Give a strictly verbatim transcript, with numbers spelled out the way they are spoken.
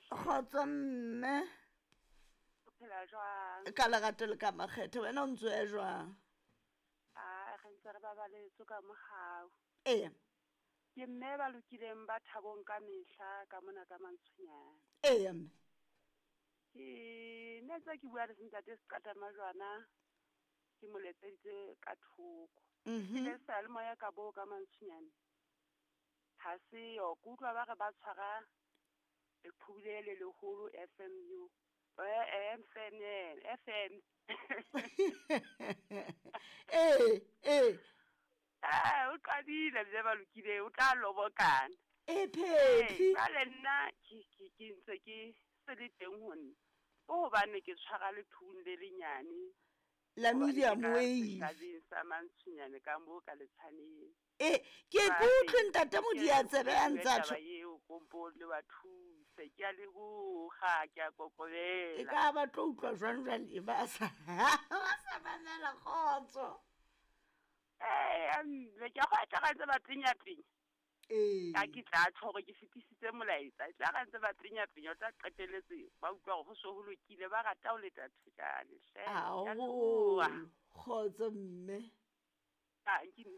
Kgotso mme. O phela jwang? Ka lerato le ka makgethe, wena o ntso ya jwang? A re ntse re babaletswe ka mohau. Eya. Ke mme ba lokileng ba thabong ka mehla ka mona ka Mantshonyana. Eya mme. Ke ne ntse ke bua le ntate Seqatamajwana, ke mo letseditse ka thoko. Mhm. Ke le seyalemoya ka bo ka Mantshonyane. Ha se yo, ke utlwa ba re ba tshwara leqhubu le le leholo F M U. Eh, M F M, F M. Eh, eh. Eh, o qadile mme ba lokile, o tla lobokana. E phephi. Eh, jwale nna ke, ke, ke ntse ke se le teng ho nna. O hobane ke tshwara lethung le lenyane. La Hobane medium ke ka wave. setjhabeng sa Mantshonyane ka moo ka Letshaneng. Eh, ke Jwale, kutlwe ntate ke Modiatsebe a ntse a taba tjho. eo, kompo le wa thuse. Ke a leboha, ke a kokobela. E ka ba tlo utlwa jwang jwale ba sa, ba sa mamela kgotso. Eh, mme ke a kgotsa ga ntse ba penya-penya. Ee. Ka ke tla tjho hore ke fetisitse molaetsa. E tla ga ntse ba penya-penya, o tla qetelletse ba utlwa hore ho so ho lokile, ba rata ho leta thojane hle. Ke a Haholo. leboha. Kgotso mme. Ah, nkine.